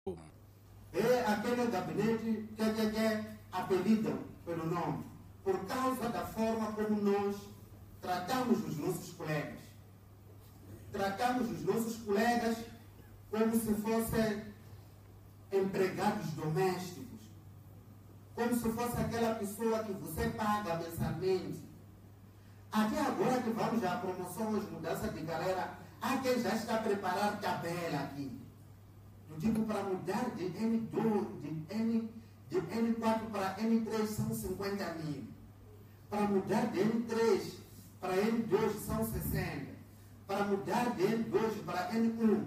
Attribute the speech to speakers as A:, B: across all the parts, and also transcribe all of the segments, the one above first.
A: É aquele gabinete que apelidam pelo nome, por causa da forma como nós tratamos os nossos colegas. Tratamos os nossos colegas como se fossem empregados domésticos, como se fosse aquela pessoa que você paga mensalmente. Até agora que vamos à promoção, mudança de carreira, há quem já está a preparar tabela aqui. Eu digo, para mudar de N2, de N4 para N3 são 50 mil. Para mudar de N3 para N2 são 60. Para mudar de N2 para N1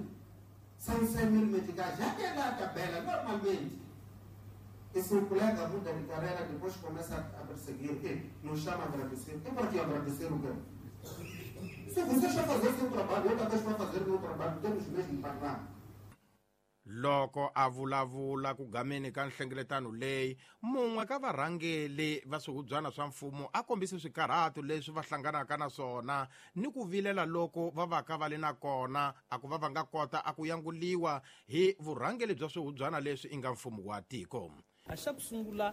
A: são 100 mil meticais. Já tem lá a tabela, normalmente. E se o colega muda de carreira, depois começa a perseguir o quê? Nos chama a agradecer. E para que agradecer o quê? Se você já fazer o seu trabalho, outra vez vai fazer o meu trabalho, temos mesmo pagar.
B: Loko a vulavula ku gameni ka nhlengeletano leyi, mun'we ka varhangeli va swihubyana swa mfumo a kombise swikarhato leswi va hlanganaka na swona ni ku vilela loko va vaka va le na kona, a ku va va nga kota a ku yanguliwa hi vurhangeli bya swihubyana leswi i nga mfumo wa tiko.
C: A xa ku sungula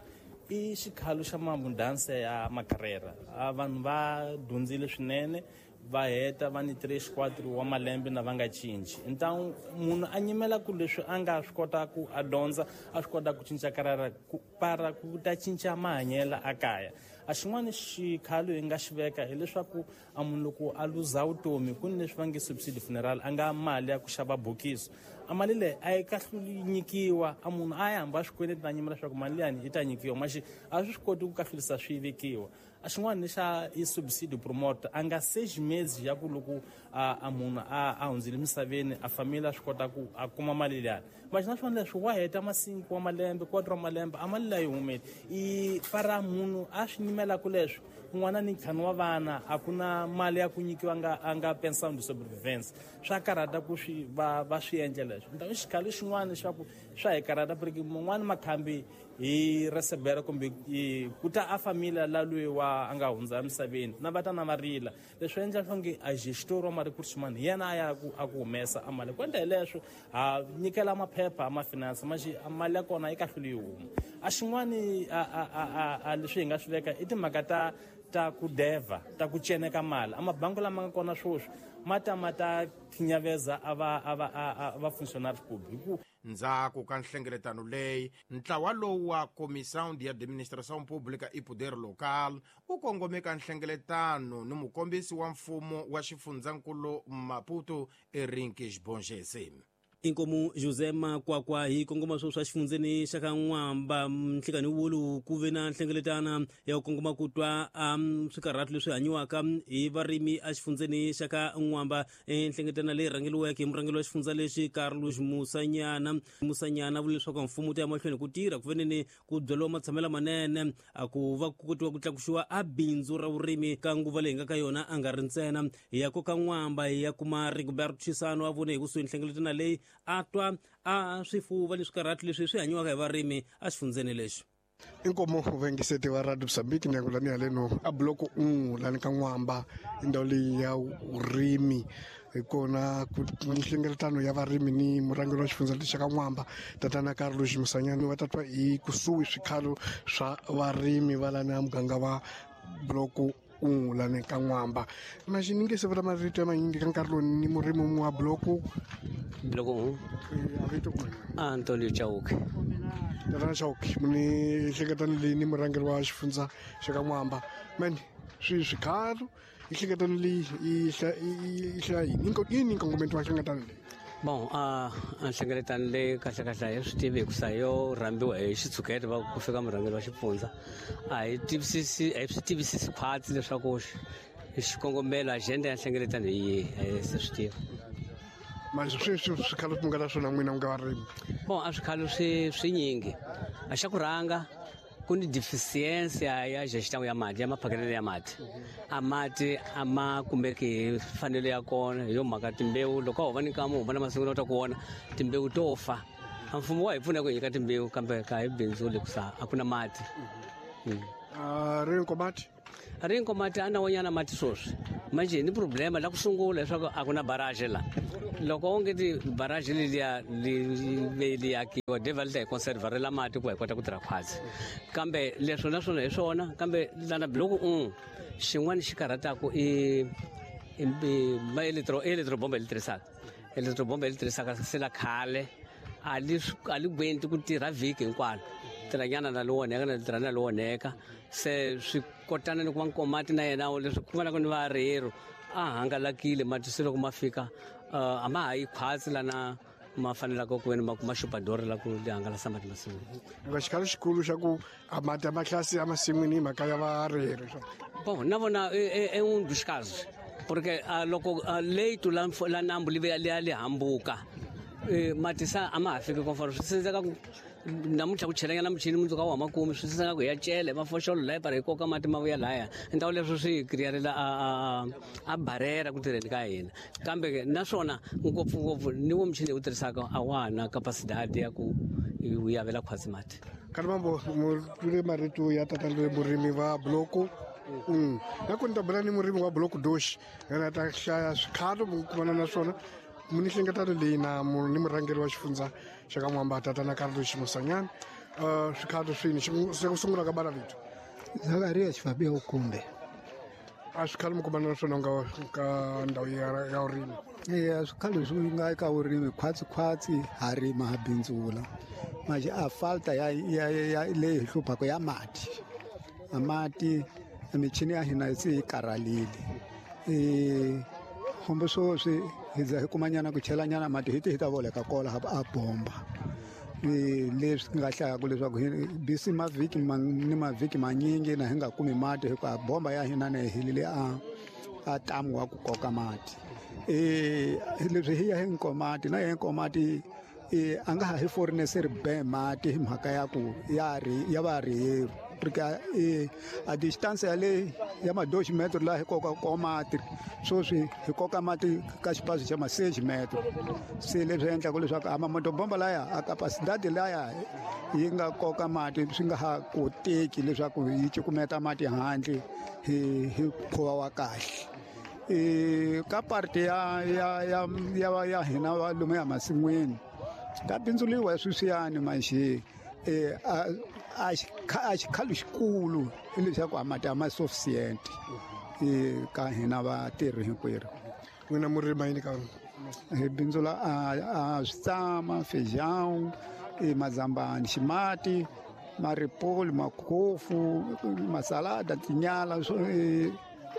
C: i xikhalo xa mabundanse ya makarera. A vanhu va dyondzile swinene, va heta va ni 3 4 wa malembe na va nga cinci. Ntangu munhu a nyimela ku leswi a nga swi kota ku a dyondza, a swi kota ku cinca karara ku para ku ta cinca mahanyelo a kaya. A xin'wana xikhalo hi nga xi veka hileswaku a munhu loko a luza vutomi ku ni leswi va nge subsidy funeral, a nga mali ya ku xava bokisi. A mali leyi a yi kahluli nyikiwa, a munhu a ya hamba swikweleti na nyimela leswaku mali liyani yi ta nyikiwa, maxi a swi swi koti ku kahlulisa swi vekiwa. A xin'wana xa i subsidy promoter, a nga seji mezi ya ku loko a munhu a hundzile emisaveni, a family a swi kota ku a kuma mali liyani. Maxi na swona leswi wa heta masinku wa malembe, 4 wa malembe, a mali leyi humele. I para munhu a swi nyimelaka leswi, kun'wana ni ntlhanu wa vana, a ku na mali ya ku nyikiwa a nga pension de sobrevivência. Swa karhata ku swi va swi endla leswi. Ntangu xikhalo xin'wana xa ku swa hi karhata, porque mun'wani makhambi hi recebera kumbe ku ta a familia la loyi wa a nga hundza emisaveni, na va ta na va rila. Leswi endla swa nge a gestor wa ma-recruits xin'wana hi yena a ya ku a ku humesa a mali. Ku endla hi leswo ha nyikela maphepha ma finance, maxi a mali ya kona yi kahluli yi huma. A xin'wani a leswi hi nga swi veka i timhaka ta ku deva, ta ku ceneka mali. A mabangi lama nga kona sweswi ma ta ma ta khinyaveza a va a va a va functionaries ku hi ku
B: Ndzhaku ka nhlengeletano leyi, ntlawa lowu wa Comissão de Administração Pública e Poder Local u kongome ka nhlengeletano ni mukombisi wa mfumo wa xifundzankulu Maputo, Erinkes Bongese.
D: Inkomu José Makwakwa hi kongoma swo swa xifundzeni xa ka N'wamba. Nhlikani wolowu ku ve na nhlengeletana ya ku kongoma ku twa swikarhato leswi hanyiwaka hi varimi exifundzeni xa ka N'wamba. Nhlengeletana leyi rhangeriweke hi murhangeri wa xifundza lexi Carlos Musanyana. Musanyana vula leswaku mfumo wu ta ya mahlweni ku tirha ku veneni ku byariwa matshamelo manene, a ku va ku kotiwa ku tlakusiwa a bindzu ra vurimi ka nguva leyi nga ka yona a nga ri ntsena. Hi ya koka N'wamba hi ya kuma Rigobert Chisano a vone hi kusuhi nhlengeletana leyi, a twa a swifuva ni swikarhato leswi swi hanyiwaka hi varimi exifundzeni lexi.
E: Inkomo vaingiseti va Radio Mozambique, ndyangu lani haleno a block 1 lani ka N'wamba, i ndhawu leyi ya vurimi. Hi kona ku nhlengeletano ya varimi ni murhangeri wa xifundza lexi ka N'wamba, tatana Carlos Musanyana, va ta twa hi kusuhi swikhalo swa varimi va lani a muganga wa block 1 lani ka N'wamba. Maxi ni nge se vula marito ya manyingi ka nkarhi lowu ni murimi wun'we wa block
F: Block 1.
E: A vito ku
F: Antonio Chauke.
E: Tatana Chauke, ni nhlengeletano leyi ni murhangeri wa xifundza xa ka N'wamba. Mani swi swikhalo i nhlengeletano leyi yi hlaya yini? Yini nkongometo wa nhlengeletano leyi?
F: Bon, a nhlengeletano leyi kahle kahle a hi swi tivi hikusa yo rhambiwa hi xitshuketa va ku fika murhangeri wa xifundza. A hi tivisisi, a hi swi tivisisi khwatsi leswaku xikongomelo agenda ya nhlengeletano hi yihi, a hi se swi tiva.
E: Manje sweswi swikhalo swi nga na swona n'wina nga varimi?
F: Bon, a swikhalo swinyingi. A xa ku rhanga ku ni deficiency ya gestão ya mati, ya maphakelelo ya mati. A mati a ma kumeki hi mfanelo ya kona, hi yo mhaka timbewu loko a ho va ni nkama, ho va na masungulo ta ku vona timbewu to fa. A mfumo wa hi pfuna ku hi nyika timbewu, kambe ka hi bindzu le kusa a ku na mati.
E: Ri Nkomati?
F: Ri Nkomati a na wonyana mati sweswi. Manje ni problema la ku sungula leswaku a ku na barrage la. Loko onge ti barrage leliya li akiwa devil ta hi conservarela mati ku hi kota ku tirha khwatsi. Kambe leswo naswona hi swona, kambe lana biloko xin'wana xi karhataka i ma electrobomba li tirhisaka. Electrobomba li tirhisaka se la khale a li gwenti ku tirha vhiki hinkwalo. Tirhanyana na lo onheka na tirha na lo onheka. Se swi kotana ni ku va Nkomati na yena leswi ku nga ni varero a hangalakile mati se loko ma fika a ma ha yi khwatsi lana ma fanelaka ku veni ma kuma xupadori la ku li hangalasa mati masin'wini.
E: Nga xikhalo xikulu xa ku a mati a mahlasi emasin'wini hi mhaka ya varero.
F: Bon, na vona e um dos casos, porque loko leito la nambu li li hambuka mati sa a ma ha fiki konforo swi sindzeka ku namuntlha ku chelanyana muchini mundzuku a wu hama kumi swi sindzeka ku hi ya cele mafoxolo laya para hi koka mati ma vuya laya. Ndhawu leswo swi kriyarela a barera ku tirheni ka hina. Kambe naswona ngopfungopfu ni wo muchini hi wu tirhisaka a wa ha na capacidade ya ku wu yavela khwatsi mati.
E: Kalimambo mu twile marito ya tata loyi murimi va bloku. Na ku ni ta bula ni murimi wa bloku doxi yena ta hlaya swikhalo mu kumana na swona mu ni hlengeletano leyi na ni murhangeri wa xifundza xa ka N'wamba tatana Carlos Musanyana. Swikhalo swini se ku sungula ka bala vito?
G: Zakaria Xifabia Ukumbe.
E: A swikhalo mi kumana na swona nga ka ndhawu ya vurimi?
G: Eya, swikhalo swi nga eka vurimi khwatsi khwatsi ha rima ha bindzula. Manje a falta ya leyi hi hluphaka ya mati. A mati michini ya hina se yi karhalile. Hombo sweswi hi za hi kumanyana ku chelanyana mati hi ti hi ta voleka kola a bomba. Leswi nga hlayaka leswaku hi bisi mavhiki ni mavhiki manyingi na hi nga kumi mati hikuva bomba ya hina na hi helile a tamu wa ku koka mati. Leswi hi ya hi Nkomati na hi Nkomati a nga ha hi foreneseri be mati hi mhaka ya ku ya ri ya va ri porque a distance ya le ya ma 2 metro la hi koka ko mati sweswi hi koka mati ka xipaso xa ma 6 metro. Se leswi endlaka leswaku a mamotobomba laya a capacidade laya yi nga koka mati swi nga ha koteki leswaku yi cukumeta mati handle hi mukhuva wa kahle. Ka parte ya hina va lomu ya masin'wini ka bindzuliwa sweswiyani manje a xikhalo xikulu hileswaku a mati a ma sufficient ka hina vatirhi hinkwerhu.
E: N'wina murima yini ka?
G: Hi bindzula a switsama, feijão, mazambani, ximati, maripoli, makhofu, masalada, tinyala ni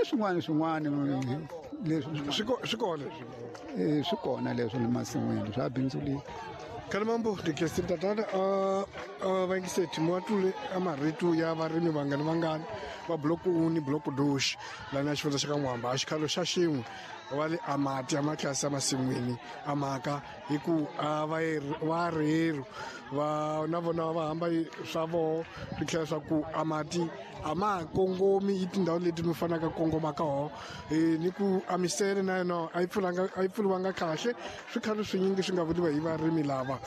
G: swin'wana swin'wana leswi
E: swi kona
G: swi kona leswi le masin'wini swa bindzuliwa.
E: Kalimambo ndikesini tatana vayingiseti muatule a marito ya varimi vangani vangani va bloku 1 ni bloku 2 lana xifundza xa ka N'wamba a xikhalo xa xin'we va le a mati a matlasi emasin'wini a mhaka hi ku a va rheru va na vona va hamba swa voho swi tlhela swa ku a mati a ma ha kongomi i tindhawu leti mi fanaka kongoma ka ho ni ku a misele na yona a yi pfuriwanga kahle. Swikhalo swinyingi swi nga vuriwa hi varimi lava.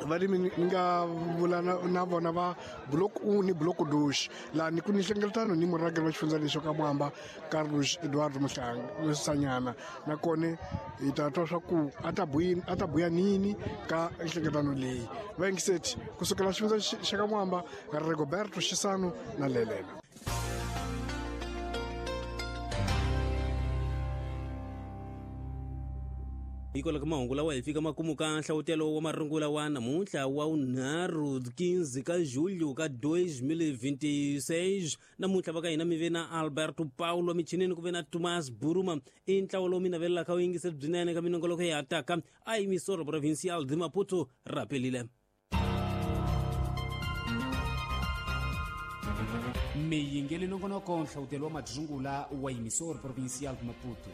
E: Varimi ni nga vula na vona va block 1 ni block 2 laha ni ku ni hlengeletano ni murhangeri wa xifundza lexo ka Mwamba Carlos Eduardo Musanyana nakona hi ta twa swa ku a ta buya nini ka nhlengeletano leyi. Vayingiseti kusukela xifundza xa ka Mwamba Rigoberto Xisano na Lelela.
D: Hikwalaho ka mahungu lawa hi fika makumu ka nhlawutelo wa marungula wa namuntlha wa vunharhu 15 ka julho ka 2026. Namuntlha va ka hina mi ve na Alberto Paulo michinini ku ve na Thomas Buruma. I ntlawa lowu mi navelelaka wu yingiseri byinene ka minongoloko ya taka a emissora provincial de Maputo rapelile.
H: Miyingeli nongonoko nhlawutelo wa marungula wa emissora provincial de Maputo.